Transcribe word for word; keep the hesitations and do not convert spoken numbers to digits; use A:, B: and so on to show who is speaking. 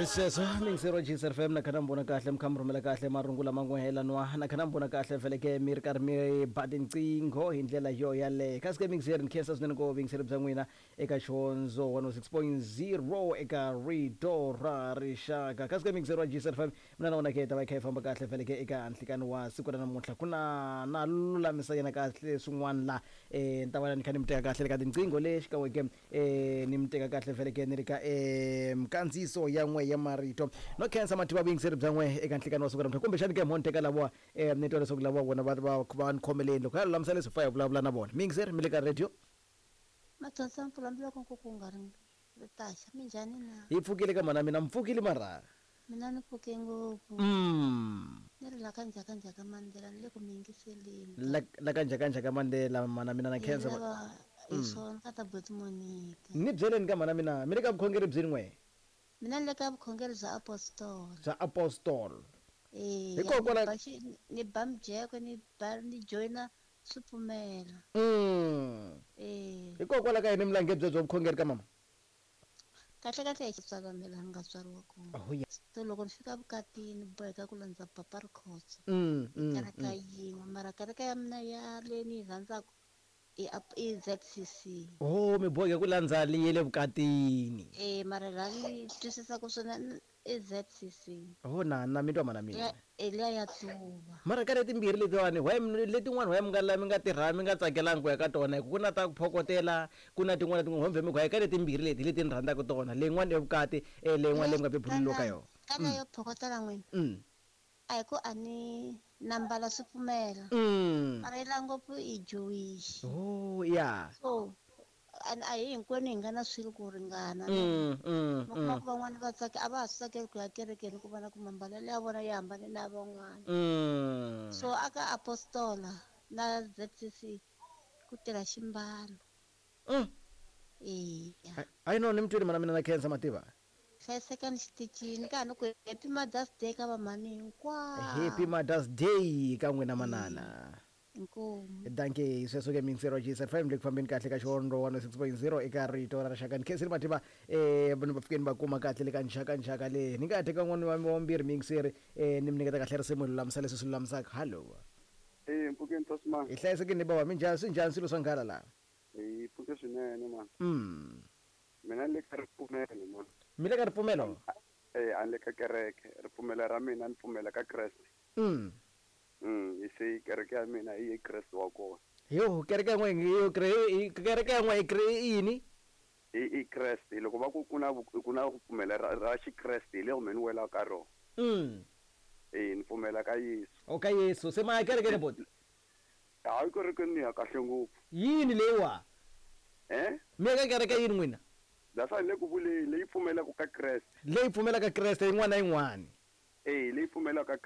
A: Sweswo mingisero G S F M na kha na mi vona kahle, mi kha mi rhumela kahle marungu lama ngo helanwa na kha na mi vona kahle, feleke mi ri karhi mi ba tinqingho hi ndlela yo yaleyo. Kasi ke mingiseri, ni khensa swinene ko vuyingiseri bya n'wina eka Xihondzo one oh six point zero eka Rito ra Rixaka. Kasi ke mingiseri wa G S F M, mina na wona ke hi ta va hi kha hi famba kahle feleke eka nhlikani wa siku ra namuntlha. Ku na na lulamisa yena kahle swin'wana la um ni ta va ni kha ni mi teka kahle le ka tinqingho le xikan'we ke um ni mi teka kahle feleke ni ri ka um kandziyiso ya n'we ya marito no khensa mativa vuyingiseri bya n'we eka nhlikani wa siku ra namuntlha. Kumbexani ke mo ni teka lavowa um ni twa leswaku lavowa vona va va va ni khomeleni loko ya lulamisa leswi fa hi vulavula na vona. Miyingiseri, mi le ka radio.
B: Matsonsa mpfula mbiloko nkuku ku nga ri ritaxa, minjhani na?
A: Hi pfukile ka mana mina, mi pfukile mara?
B: Mina ni pfuke ngopfu.
A: mm.
B: Ni ri la ka Njhaka Njhaka Mandela, ni le ku mi yingiseleni.
A: la la ka Njhaka Njhaka Mandela, mana mina na khensa.
B: Lava hi swona ka ta buti Monica.
A: Ni byeleni ka mana mina, mi le ka vukhongeri byini n'we?
B: Mina ni le ka vukhongeri bya apostol.
A: Bya apostol.
B: Eh.
A: Hikokwala-
B: ni ba xi- ni ba mujeko, ni ba ni joyina swipfumela.
A: mm.
B: Eh.
A: Hikokwalaho ka yini mi lange byebyo vukhongeri ka mama?
B: Kahle kahle hi xitswala me laha ni nga tswariwa kona.
A: Oh, yeah.
B: So loko ni fika vukatini, boheka ku landza papa Rikhotso.
A: mm, mm,
B: Kereka
A: mm.
B: yin'we, mara kereke ya mina ya leyi ni yi rhandzaka i ap- i Z C C.
A: Oh, mi boheke ku landza leyi le vukatini.
B: Eh, mara laha ni twisisaka swona i Z C C.
A: Oh, na na mi twa mana mina.
B: Liya e liya ya tuva.
A: Mara ka letimbirhi letiwani, why letin'wana why mi nga la mi nga tirha mi nga tsakelangi ku ya ka tona? Hi ku ku na ta ku phokotela, ku na tin'wana tin'wana hombe mi ku hayi ka letimbirhi leti leti ni rhandzaka tona, leyin'wana ya vukati, eh, leyin'wana leyi mi nga bebuleliwa ka yona.
B: Ka leyo phokotela n'wina,
A: mm.
B: a hi ku a ni na mbala swipfumela,
A: Mm.
B: mara yi la ngopfu i Jewish.
A: Oh, yeah.
B: So a a hi hinkwenu hi nga na swilo ku ringana.
A: mm, mm,
B: Mi kuma
A: mm.
B: ku van'wani va tsake a va ha swi tsakeli ku ya kerekeni, ku vona ku mambalelo ya vona ya hambane na van'wana.
A: Mm.
B: So aka apostola na Z C C ku tirha ximbalo.
A: Mm.
B: Eya.
A: Hayi no, ni mi twile mana mina, na khensa mativa.
B: Hlayisekani xitichini ka ha ni ku happy Mother's Day ka vamhani hinkwavo.
A: Happy Mother's Day ka n'wina manana.
B: Inkomu.
A: Danke. Sweswo ke mingisero G S F M le ku fambeni kahle ka Xihondzo one oh six point zero eka Rito ra Rixaka. Ni khensile mativa eh vanhu va fikeni va kuma kahle le ka Njhaka Njhaka le ni nga teka n'wana wa wa mbirhi mingiseri, eh ni mi nyiketa kahle risimu hi lulamisa leswi swi lulamisaka. Hallo.
C: Eh, mpfukeni Tosman.
A: Hi hlayisekile baba, minjhani, swi njhani swilo swa nghala laha?
C: Hi pfuke swinene man.
A: mm
C: Mina ni le ka ripfumelo man.
A: Mi le ka ripfumelo?
C: Eh, a ni le ka kereke. Ripfumelo ra mina ni pfumela ka Kreste.
A: mm
C: Mm, hi se kereke ya mina i ye Kreste wa kona.
A: Yo, kereke yan'we yo, kereke yan'we i yini?
C: I i Kreste. Loko va ku ku na ku na ku pfumela ra, ra Xikreste, hi lero me ni wela ka rona.
A: mm
C: Eh, ni pfumela ka Yesu.
A: O, ka Yesu. Se ma ya kerekeni boti?
C: Hayi, kerekeni ni ya kahle ngopfu.
A: Yini leyiwa?
C: Eh?
A: Mi ya ka kereke yini n'wina?
C: That's le ku vuleni leyi pfumelaka ka Kreste.
A: Leyi pfumelaka Kreste yin'wana na yin'wana.
C: Eh, leyi pfumelaka.